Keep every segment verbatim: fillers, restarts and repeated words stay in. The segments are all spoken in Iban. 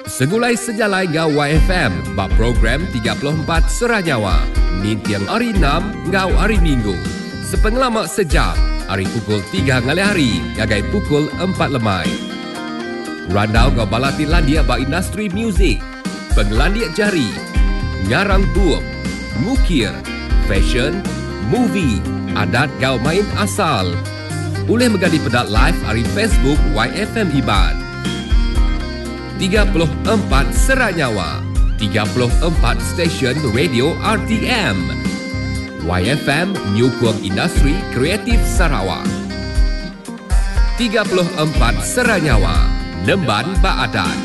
Segulai sejalai enggau Y F M ba program tiga puluh empat Sera Nyawa ninting hari enam enggau hari Minggu. Sepengelama sejam hari pukul tiga ngalih hari ngagai pukul empat lemai. Randau enggau bala ti landik ba industri muzik, pengelandik jari, ngarang bup, ngukir, fashion, movie, adat enggau main asal. Ulih mega dipeda live hari Facebook Y F M Iban. tiga puluh empat Sera Nyawa, tiga puluh empat stesen radio R T M. Y F M nyukung industri kreatif Sarawak. tiga puluh empat Sera Nyawa, Nemban Baadan.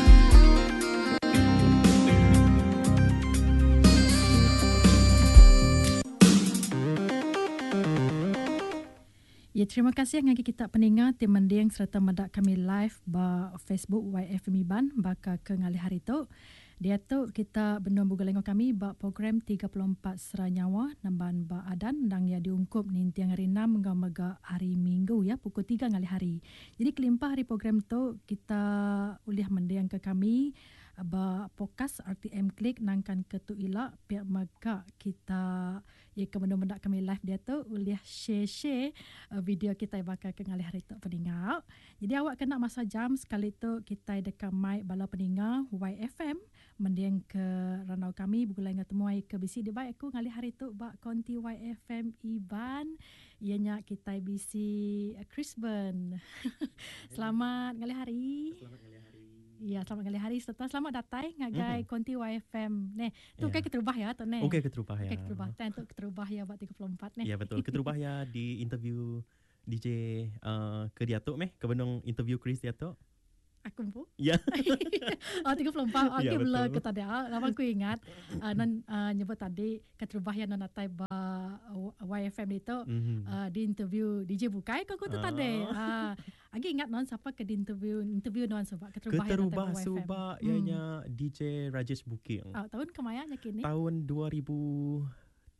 Ya, terima kasih ngagi kita peninga ti mending serta medak kami live ba Facebook Y F M Iban baka ke ngalih hari tu. Dia tu kita bendung buga lengok kami ba program tiga puluh empat Sera Nyawa Nemban ba Adan ndang ya diungkup ninting hari enam enggau mega hari Minggu ya pukul tiga ngalih hari. Jadi kelimpah hari program tu kita ulih mending ke kami ba podcast R T M Klik nangkan ke tu ila pihak mega kita ya ke benda-benda kami live dia tu ulih share-share video kita bakal ke ngalih hari tu peninga. Jadi awak kena masa jam sekali tu kita dekat mic bala peninga Y F M mending ke randau kami begulai dengan temuai ke bisi di baik aku ngalih hari tu ba konti Y F M Iban ianya kita bisi Chris Ben. Selamat ngalih hari. Selamat ngalih hari. Ya, selamat ngalih hari serta selamat datang ngagai mm-hmm. konti Y F M. Neh, tu yeah. Kai keterubah ya tu neh. Okey keterubah ya. Okey keterubah. Tan tu keterubah ya buat tiga puluh empat neh. Ya betul. Keterubah ya di interview D J uh, ke dia tu meh, ke benung interview Chris dia tu. Aku pun. Ya. Oh tiga puluh empat. Okey ya, bela ke tadi. Lama aku ingat uh, non uh, nyebut tadi keterubah ya non datai ba Y F M itu mm-hmm. uh, di interview D J Bukai kau tu uh. tadi. Uh, agi ingat non siapa ke di interview interview non sebab keterubah keterubah subak ianya hmm. D J Rajesh Booking. Oh, tahun kemayanya kini? Tahun dua ribu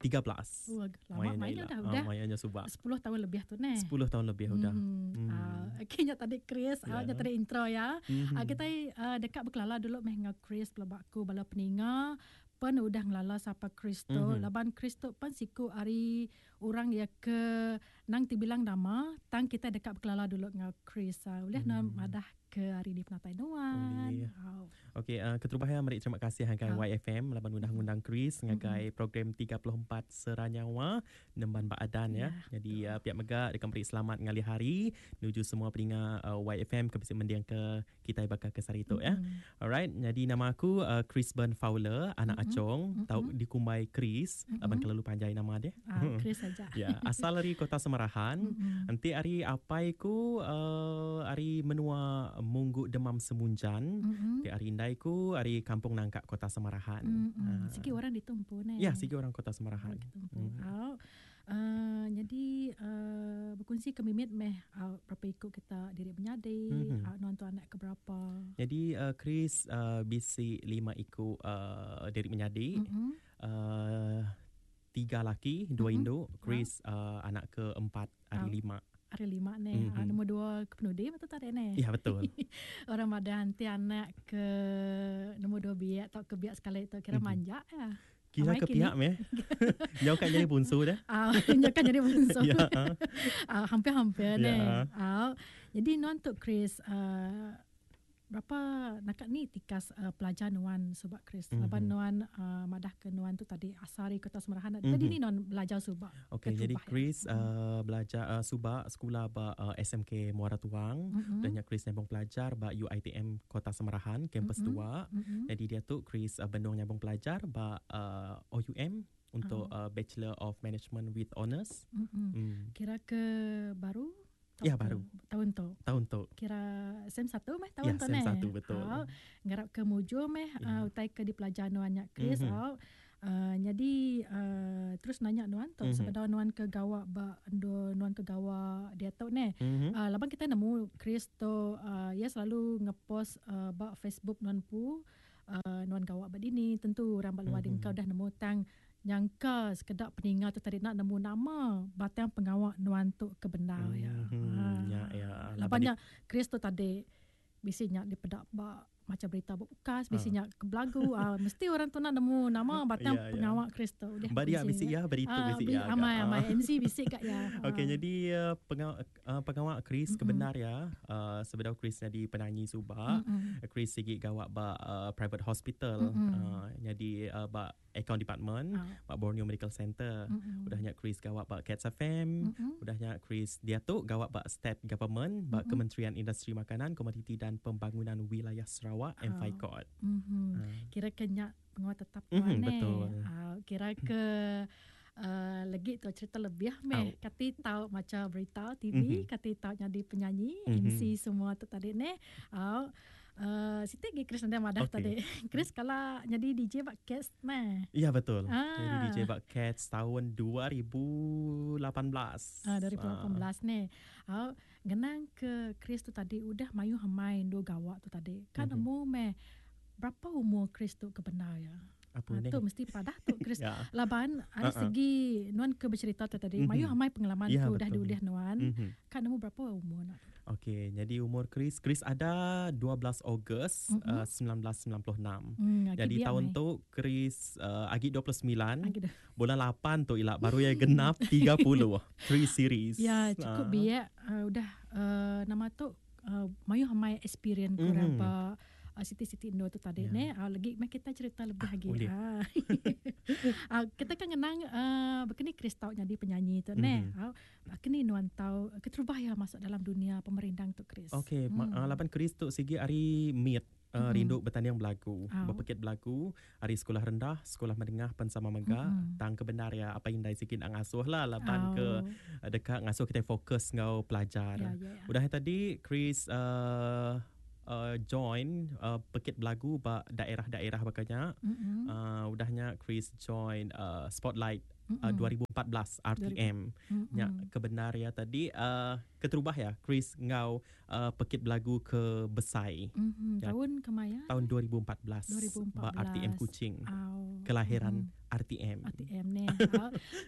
tiga belas. Oh, lama mainnya dah udah. Ah, mainnya subak. sepuluh tahun lebih tu neh. sepuluh tahun lebih udah. Hmm. Hmm. Uh, okey nya tadi Chris, yeah. uh, nya tadi intro ya. Mm-hmm. Uh, kita uh, dekat berkelala dulu meh dengan Chris pelabakku bala peninga pen udah ngelala siapa Chris tu. Mm-hmm. Laban Chris tu pen siku ari orang ya ke nang tibilang nama tang kita dekat berkelala dulu dengan Chris. Uh, ulih mm. mm. madah ke hari di penatai nuan. Oh. Okey, uh, keterubah ya mari terima kasih ngagai oh. Y F M laban udah ngundang Chris ngagai mm-hmm. program tiga puluh empat Sera Nyawa Nemban Baadan ya. Yeah. Jadi uh, pihak mega dekat beri selamat ngalih hari nuju semua peninga uh, Y F M ke bisi mending ke kita bakal ke sari tu mm-hmm. ya. Alright, jadi nama aku uh, Chris Ben Fowler, anak mm-hmm. Acong, mm-hmm. tau dikumbai Chris, mm-hmm. laban kelalu panjai nama dia. Ah, Chris saja. Ya, asal dari Kota Semarahan. Mm-hmm. Nanti hari apai ku uh, hari menua Munggu Demam Semunjan. Mm-hmm. Di hari indai ku hari Kampung Nangka Kota Semarahan. Mm-hmm. Uh, Sigi orang ditumpu ne. Ya, sigi orang Kota Semarahan. Ditumpu. Mm. Oh. Uh, jadi uh, berkongsi ke mimit meh uh, berapa ikut kita diri menyadi, mm-hmm. uh, nuan tu anak ke berapa. Jadi uh, Chris uh, bisi lima ikut uh, diri menyadi. Mm-hmm. Uh, tiga laki, dua mm-hmm. induk. Chris uh, anak keempat, hari oh. lima. Hari lima ni, mm-hmm. uh, nombor dua ke penudi betul tak ni? Ya betul. Orang madah nanti anak ke nombor dua biak atau ke biak sekali itu kira mm-hmm. manja ya. Kira Amai ke pihak meh. Nyau kan jadi bunsu dah. Ah, nyau kan jadi bunsu. Ya. Ah, hampir-hampir ni. Ya. Ah, jadi non tu Chris uh, berapa nakat ni tikas uh, pelajar nuan subak Chris. Mm-hmm. Laban nuan uh, madah ke nuan tu tadi asari Kota Semarahan. Mm-hmm. Tadi ni nuan belajar subak. Okey, jadi Chris ya. uh, belajar uh, subak sekolah ba uh, S M K Muara Tuang mm-hmm. dan Chris nyambung pelajar ba U I T M Kota Semarahan kampus mm-hmm. dua. Mm-hmm. Jadi dia tu Chris uh, bendung nyambung pelajar ba uh, O U M untuk oh. uh, Bachelor of Management with Honors. Mm-hmm. Mm. Kira ke baru? Ya baru. Tahun tu. Tahun tu. Kira sem satu meh tahun ya, tu sem neh. satu betul. Oh, ngarap ke muju meh ya. uh, utai ke di pelajar nuan nya Chris. Mm-hmm. Oh. Uh, jadi uh, terus nanya nuan tu mm-hmm. sebab nuan ke gawa ba endo nuan ke gawa dia tu neh. Mm-hmm. Uh, laban kita nemu Chris tu uh, ia selalu ngepost uh, ba Facebook nuan pu uh, nuan gawa ba dini tentu orang ba luar mm-hmm. mm-hmm. kau dah nemu tang nyangka sekedak peninga tu tadi nak nemu nama batang pengawak nuan tu ke benar mm-hmm. ya. Ya ya. Labannya Chris tu tadi bisi nyak dipedak ba Maca berita bukas bisinya ke belagu uh, mesti orang tu nak nemu nama batang yeah, pengawak yeah. Chris tu udah dia bisi ya berita uh, bisi ya amai amai M C bisi kak ya. Okey, jadi uh, pengawak uh, pengawak Chris mm-hmm. kebenar ya uh, sebedau Chris jadi penyanyi subak mm-hmm. Chris sigi gawak ba uh, private hospital mm-hmm. uh, jadi uh, ba account department uh. ba Borneo Medical Center. Mm-hmm. Udahnya Chris gawak ba Cats F M, mm-hmm. udahnya Chris dia tu gawak ba state government ba mm-hmm. Kementerian Industri Makanan, Komoditi dan Pembangunan Wilayah Sarawak M F I C O D. Mm-hmm. Uh. Kira kenyak pengawal tetap tuan mm-hmm, betul. Uh, kira ke uh, lagi tu cerita lebih meh. Oh. Kati tahu macam berita T V, mm-hmm. kati tahu jadi penyanyi, mm-hmm. M C semua tu tadi ne. Uh, Uh, Siti lagi Chris nanti madah okay. tadi. Chris kalau jadi D J bak Cats meh. Ya betul. Ah. Jadi D J bak Cats tahun dua ribu lapan belas. Ah dua ribu lapan belas ah. Ni. Ah ngenang ke Chris tu tadi udah mayu hamain do gawak tu tadi. Kan mm-hmm. umur meh berapa umur Chris tu kebenar ya? Apa ha, ni? Tu mesti padah tu Chris. Ya. Laban ada uh-uh. segi nuan ke bercerita tu tadi. Mm-hmm. Mayu hamai pengalaman ya, tu dah diulih nuan. Mm-hmm. Kan umur berapa umur nak? Okey, jadi umur Chris, Chris ada dua belas Ogos mm-hmm. uh, sembilan belas sembilan puluh enam. Mm, jadi tahun mai. Tu Chris uh, agi dua puluh sembilan. Agi bulan lapan tu ilak baru ya genap tiga puluh. Three series. Ya, cukup uh. biak uh, udah uh, nama tu uh, mayu hamai experience mm-hmm. kurang apa Uh, Siti-Siti Indo tu tadi yeah. ne uh, lagi meh kita cerita lebih ah, lagi. Ah. uh, kita kan ngenang uh, bekeni Chris tau jadi penyanyi tu mm-hmm. ne. Uh, bekeni nuan tau keterubah ya masuk dalam dunia pemerindang tu Chris. Okey, hmm. uh, lapan Chris tu sigi ari meet Uh, mm-hmm. rindu bertanding belagu, oh. berpekit belagu, hari sekolah rendah, sekolah menengah pensama mega, mm-hmm. tang kebenar ya apa indai sikit nak ngasuh lah lapan oh. ke dekat ngasuh kita fokus ngau pelajar. Ya, ya, ya. Udah tadi Chris uh, Uh, join uh, pekit belagu ba daerah-daerah bakanya. Mm-hmm. Uh, udahnya Chris join uh, Spotlight mm-hmm. uh, dua ribu empat belas R T M. Mm-hmm. Nya kebenar ya tadi uh, keterubah ya Chris ngau uh, pekit belagu ke Besai. Mm-hmm. Ya, Tahun kemaya? Tahun dua ribu empat belas. dua ribu empat belas. Ba R T M Kuching. Oh. Kelahiran Mm-hmm. R T M. R T M ni.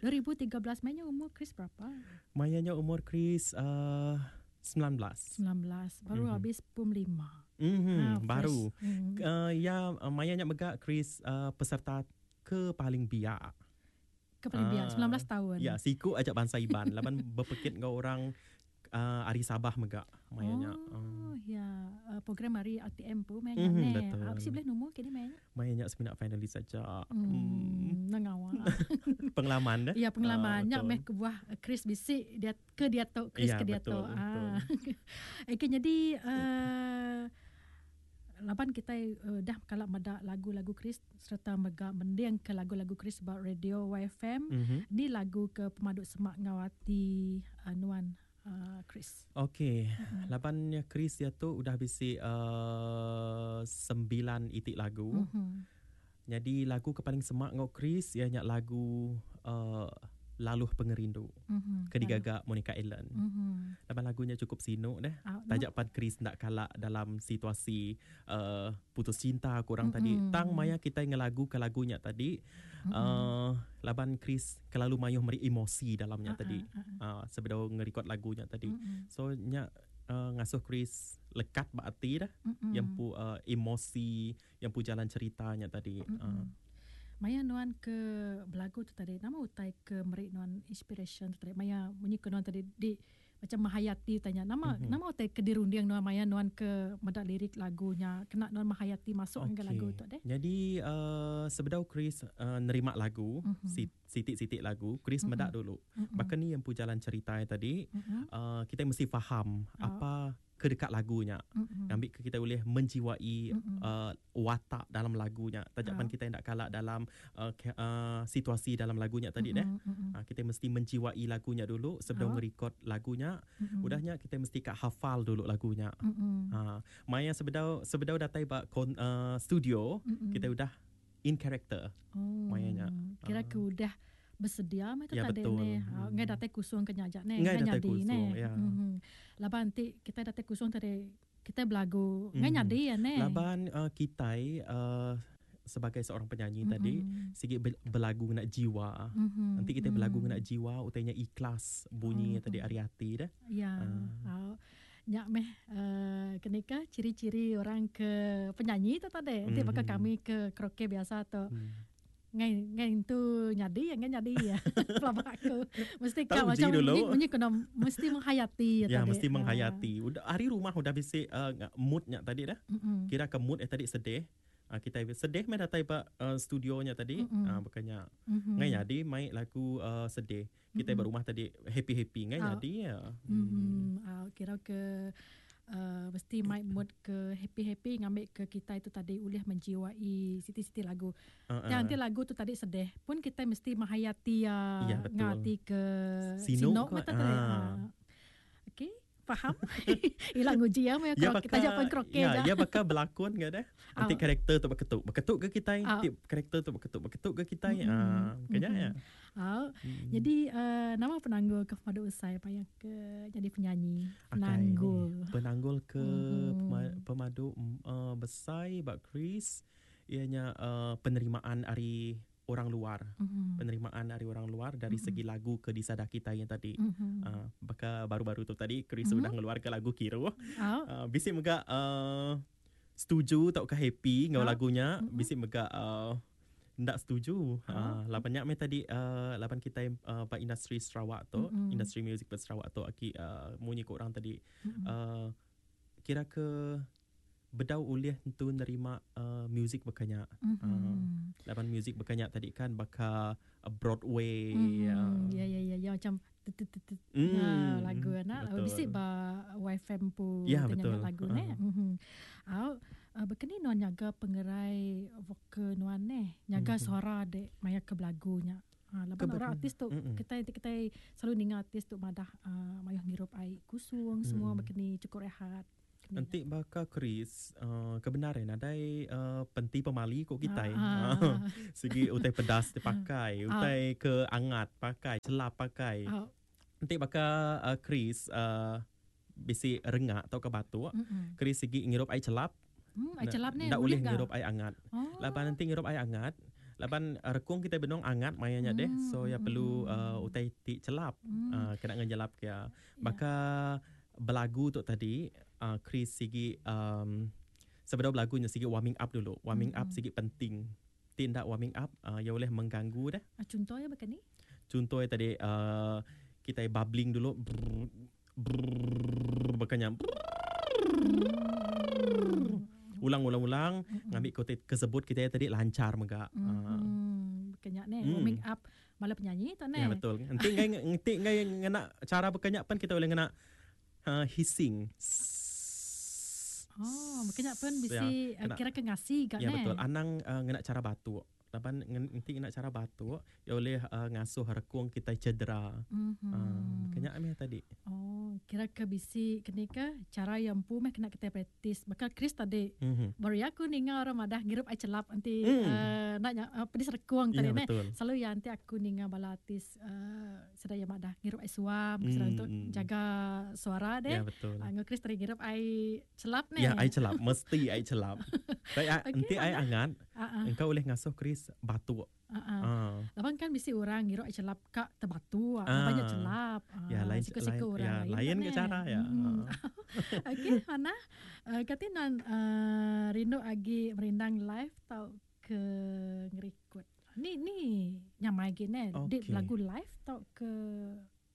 dua ribu tiga belas mainnya umur Chris berapa? Mayanya umur Chris uh, sembilan belas. sembilan belas. Baru mm-hmm. habis pum lima. Mm-hmm. Ha, baru. Mm-hmm. Uh, ya, mayanya megak Chris uh, peserta ke paling biak. Ke paling biak, sembilan belas tahun. Ya, siku ajak bangsa Iban. Laban berpekit ngau orang uh, ari Sabah megak mayanya. Oh, uh. ya. Uh, program hari R T M pun mayanya mm-hmm, ne. Betul. Apa sih boleh nombor kini mayanya? Mayanya seminat finalis saja. Hmm, mm. Nengawa. Pengalaman dah. Ya, pengalaman. Uh, Nyak meh kebuah Chris bisik dia ke dia tu, Chris ya, ke dia tu. Ah. Okey, jadi uh, laban kita uh, dah kalak medak lagu-lagu Chris serta mega mending ke lagu-lagu Chris about radio Y F M. Mm-hmm. Ni lagu ke pemaduk semak ngawati uh, nuan Uh, Chris. Okey, mm-hmm. laban Chris dia tu udah bisi uh, sembilan itik lagu. Mm-hmm. Jadi lagu ke paling semak ngau Chris ianya lagu uh, Laluh Pengerindu. Mm-hmm. Ke digagak Monica Ellen. Mm-hmm. Laban lagunya cukup sinuk deh. Oh, Tajak pan Chris nak kalak dalam situasi uh, putus cinta kurang mm-hmm. tadi. Tang maya kita ngelagu ke lagunya tadi. Mm-hmm. Uh, laban Chris kelalu mayuh meri emosi dalamnya uh-uh, tadi. Uh-uh. Uh, sebelum ngerekod lagunya tadi. Mm-hmm. So nya uh, ngasuh Chris lekat berarti dah. Mm-hmm. Yang pu uh, emosi, yang pu jalan ceritanya tadi. Mm-hmm. Uh. Maya nuan ke belagu tu tadi, nama utai ke merik nuan inspiration tu tadi. Maya bunyi ke nuan tadi di macam menghayati tanya nama mm-hmm. nama utai ke dirunding nuan maya nuan ke medak lirik lagunya kena nuan menghayati masuk okay. ke lagu tu deh. Jadi uh, sebedau Chris uh, nerima lagu, mm-hmm. sitik-sitik lagu, Chris mm-hmm. medak dulu. Mm-hmm. Bahkan ni yang pu jalan cerita tadi, mm-hmm. uh, kita mesti faham oh. apa kedekat lagunya. Mm-hmm. Ambil ke kita boleh menjiwai mm-hmm. uh, watak dalam lagunya. Tajapan oh. kita tidak kalah dalam uh, ke, uh, situasi dalam lagunya tadi mm-hmm. deh. Mm-hmm. Uh, kita mesti menjiwai lagunya dulu sebelum oh. ngerekod lagunya. Mm-hmm. Udahnya kita mesti kak hafal dulu lagunya. Mm-hmm. Uh, maya sebedau sebedau datai ba kon, uh, studio, mm-hmm. kita udah in character. Oh. Mayanya. Kira uh. ke udah bersedia mah tu ya, tadi betul. ne. Hmm. Ngai datai kusung ke nyajak ne, ngai ngai datai nyadi kusung, ne. ya. Mm-hmm. Laban nanti kita datai kusung tadi kita belagu ngai Mm. nyadi ya ne. Laban uh, kita uh, sebagai seorang penyanyi Mm-mm. tadi sikit belagu nak jiwa. Mm-hmm. Nanti kita belagu nak jiwa utainya ikhlas bunyi Mm-hmm. tadi ari hati dah. Ya. Uh. Uh. Nyak meh uh, kenika ciri-ciri orang ke penyanyi tu tadi. Nanti mm-hmm. bakal kami ke karaoke biasa tu. Mm. Ngai ngai tu nyadi ngai nyadi ya. Pelabak aku. Mesti kau macam bunyi kena mesti menghayati ya, ya tadi. Mesti menghayati. Udah hari rumah udah bisi uh, moodnya tadi dah. Mm-hmm. Kira ke mood eh tadi sedih. Uh, kita sedih meh datai ba uh, studionya tadi. Mm-hmm. Uh, bukannya mm-hmm. ngai nyadi mai lagu uh, sedih. Kita mm-hmm. berumah tadi happy-happy ngai oh. nyadi ya. Mm. Uh, kira ke uh, mesti mai mood ke happy-happy ngambil ke kita itu tadi ulih menjiwai siti-siti lagu. Uh, uh. Dan nanti lagu tu tadi sedih pun kita mesti menghayati ya, ya ngati ke sinok tadi. Ah. Okey. Faham? Hilang uji ya, ya baka, kita jawab kroke ya, ya bakal berlakon ke dah. Nanti oh. karakter tu berketuk, berketuk ke kita, nanti oh. karakter tu berketuk, berketuk ke kita. Mm-hmm. Ah, kena ya. Oh. Mm. Jadi uh, nama penanggul ke pemadu usai apa yang ke jadi penyanyi? Penanggul. Okay. Penanggul ke mm-hmm. pemadu uh, besar bak Chris ianya uh, penerimaan ari orang luar. Mm-hmm. Penerimaan dari orang luar dari mm-hmm. segi lagu ke disada kita yang tadi. Mm-hmm. Uh, baka baru-baru tu tadi Chris mm-hmm. sudah ngeluarkan lagu Kiro. Oh. Uh, bisi mega uh, setuju tau ke happy ngau oh. lagunya, mm-hmm. bisi mega uh, ndak setuju. Oh. Uh, lapannya me tadi uh, lapan kita uh, ba industri Sarawak tu, mm-hmm. industri music ba Sarawak tu aki uh, munyi ko orang tadi. Mm-hmm. Uh, kira ke bedau ulih tu nerima uh, music berkanyak. Mm-hmm. Uh, lapan music berkanyak tadi kan baka uh, Broadway. Mm-hmm. Uh. Ya ya ya ya macam tut mm, uh, lagu anak. Bisi ba Y F M pu ya, betul. Lagu uh. ne. Mm-hmm. Au uh, berkeni nuan nyaga pengerai vokal nuan ne, nyaga mm-hmm. suara dek maya ke belagunya. Ha, lapan orang artis tu mm-mm. kita kita selalu ninga artis tu madah uh, mayuh ngirup air kusung semua mm. berkeni cukup rehat. Nanti baka Chris uh, kebenaran adai uh, penti pemali kok kita. Ah, ah. Segi utai pedas dipakai, utai ah. ke angat pakai, celap pakai. Ah. Nanti baka uh, Chris uh, bisi rengak atau ke batuk, Mm-mm. Chris segi ngirup air celap. Hmm, air celap ni ndak boleh ngirup air angat. Oh. Lapan nanti ngirup air angat, lapan uh, rekung kita benong angat mayanya deh. So ya perlu uh, utai ti celap. Mm. Uh, kena ngejelap ke. Baka belagu tu tadi uh, Chris sigi um, sebelum belagunya sigi warming up dulu. Warming mm-hmm. up sigi penting. Tindak warming up uh, ya boleh mengganggu dah. Contohnya macam ni? Contohnya tadi uh, kita bubbling dulu. Brrr, brrr, bukannya ulang-ulang-ulang mm-hmm. ngambil kote kesebut kita tadi lancar mega. Mm-hmm. Uh. Bukannya ni mm. warming up malah penyanyi tu ni. Ya betul. Nanti ngai nanti ngai ngena cara bukannya pan kita boleh ngena Uh, hissing. Oh, mungkin pun bisi ya, kira ke ngasi gak ya, ne. Betul. Anang uh, ngena cara batuk. Lapan nanti ngena cara batuk, ya boleh uh, ngasuh rekung kita cedera. Mm-hmm. Uh, kena ameh tadi. Oh, kira ke bisi kena ke cara yang pu meh kena kita praktis. Bakal Chris tadi. Mm-hmm. Baru aku ninga orang madah ngirup air celap nanti mm. uh, nak uh, pedis rekung tadi ya, ne. Betul. Selalu ya nanti aku ninga bala artis uh, sedaya madah ngirup air suam mm. sedang untuk jaga suara deh. Ya betul. Uh, Chris tadi ngirup air celap ne. Ya, air celap mesti air celap. Tapi okay, nanti air angat, uh-uh. engkau boleh ngasuh Chris batuk. Uh-uh. Uh. Lapan kan mesti orang ngirup air celap kak terbatu, Ah. banyak celap. Ya, lain siku-siku lain, orang ya, lain. Lain ke cara ya. Hmm. Okey, mana? Uh, kati non uh, rindu agi merindang live tau ke ngerekod. Ni ni nyamai gini. Okay. Dik lagu live tau ke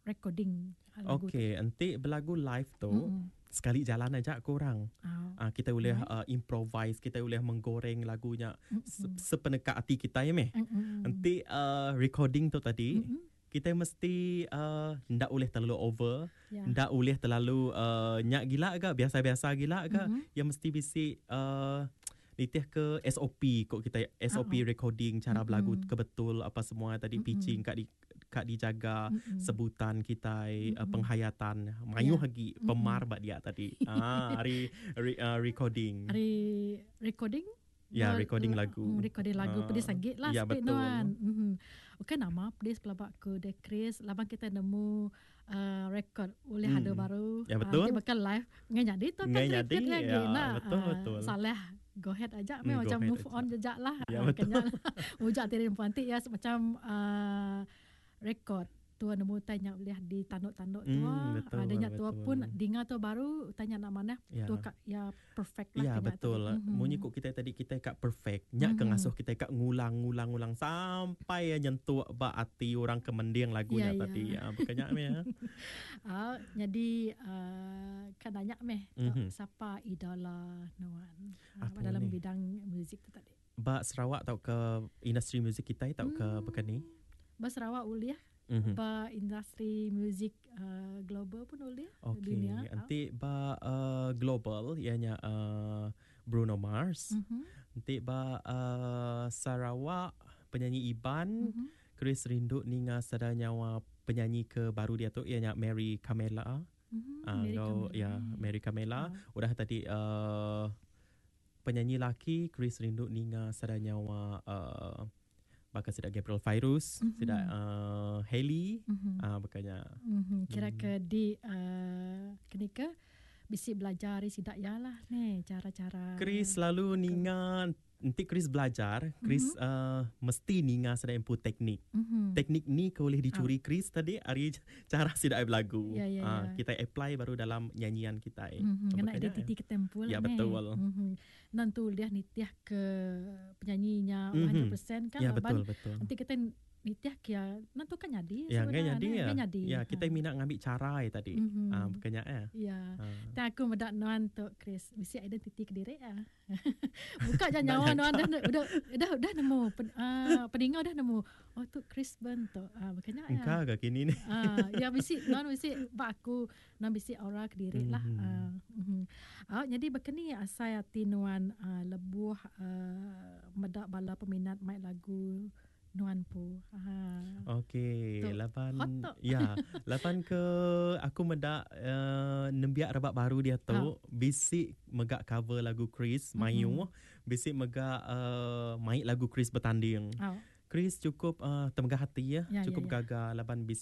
recording lagu. Okey, nanti berlagu live tu. Mm-mm. Sekali jalan aja korang. Oh. Uh, kita boleh uh, improvise, kita boleh menggoreng lagunya Mm-mm. sepeneka hati kita ya meh. Mm-mm. Nanti uh, recording tu tadi Mm-mm. kita mesti uh, ndak boleh terlalu over, Ya. ndak boleh terlalu uh, nyak gila ke, biasa-biasa gila ke, Mm-mm. yang mesti bisi uh, nitih ke S O P kok kita S O P Uh-uh. recording cara berlagu Mm-mm. ke betul apa semua tadi Mm-mm. pitching kat di kat dijaga Mm-mm. sebutan kita Mm-mm. uh, penghayatan mayuh Ya. lagi pemar bak dia tadi ah hari re, uh, recording Hari recording? ya La- recording la- lagu mm, Recording lagu Ah, pedis sakit lah ya, sikit betul. nuan. Mhm. Okey nama pedis pelabak ke de Chris laban kita nemu uh, record oleh Hmm. ada baru. Ya, betul. Ah, nanti bakal live ngai jadi tu kan Ngai jadi, record lagi ya, nah. betul, Ah, betul. Salah go ahead aja Hmm, mm, go macam ahead move aja. on jejak lah. Ya, Ah, betul. Kenyal. Ujak tirin puantik ya macam uh, record Tua nemu tanya boleh di tanduk-tanduk tua. Hmm, betul, Adanya tua betul. pun dengar tua baru tanya nak mana Ya. tua kak ya perfect lah Ya kena betul. tu. Mm-hmm. Munyi kok kita tadi kita kak perfect. Nyak mm-hmm. ke ngasuh kita kak ngulang-ngulang-ngulang sampai ya nyentuh ba ati orang kemending lagunya Ya, ya. tadi. Ya, bukannya meh ya. Ah, jadi uh, kan nanya meh Mhm. mm-hmm. siapa idola nuan uh, Apa dalam ni? bidang muzik tu tadi. Ba Sarawak tau ke industri muzik kita tau ke Hmm. bukan ni? Ba Sarawak uliah, Mm-hmm. ba industri muzik uh, global pun uliah Okey, dunia. Ah. nanti ba uh, global ianya uh, Bruno Mars. Mm-hmm. Nanti ba uh, Sarawak penyanyi Iban, Mm-hmm. Chris rindu ninga sada nyawa penyanyi ke baru dia tu ianya Mary Camela. Mm-hmm. Ah, Mary kau Camilla. ya Mary Camela. Ah. Udah tadi uh, penyanyi laki Chris rindu ninga sada nyawa uh, bakal sidak Gabriel Fairuz, Mhm. sidak uh, Hailey, Mm-hmm. ah bukannya. Mm-hmm. Kira ke di uh, kenika bisi belajar dari sidak ya lah ni cara-cara. Chris selalu ninga nanti Chris belajar, Chris mm-hmm. uh, mesti ninga sada input teknik. Mm-hmm. Teknik ni kau boleh dicuri Chris tadi hari cara sidak berlagu. Ya, ya, Ah, ya. kita apply baru dalam nyanyian kita. Eh. Mm-hmm. Kena Makanya, identiti ketempul Ya, lah ni. betul. Mm-hmm. Nanti dia nitiah ke penyanyinya Mhm. seratus peratus kan Ya, laban betul betul. Nanti kita nitiah kia nanti kan jadi Ya, ngai sebenarnya, jadi ya. ngai jadi. Ya, kita Ha. minat ngambil cara eh tadi. Mhm. Ah, bukannya eh. Ya. Ah. Dan aku medak nuan tu Chris, mesti identiti ke diri ah. Buka je nyawa nuan dah udah udah udah nemu pen, uh, peninga dah nemu. Oh tu Chris Ben tu. Ah makanya ya. Engkau agak kini ni. Ah ya bisi nuan bisi bak aku nuan bisi aura ke diri lah. Mhm. Ah mhm. Ah jadi bekeni asai ati nuan uh, lebuh uh, medak bala peminat mai lagu nuan pu. Ah. Okey, Tu, lapan hot tu. ya, lapan ke aku medak uh, nembiak rebak baru dia tu Ha. bisik megak cover lagu Chris mayu, bisik megak uh, maik lagu Chris bertanding. Ah. Chris cukup uh, temegah hati ya, Ya, ya, cukup ya. gagah laban bisik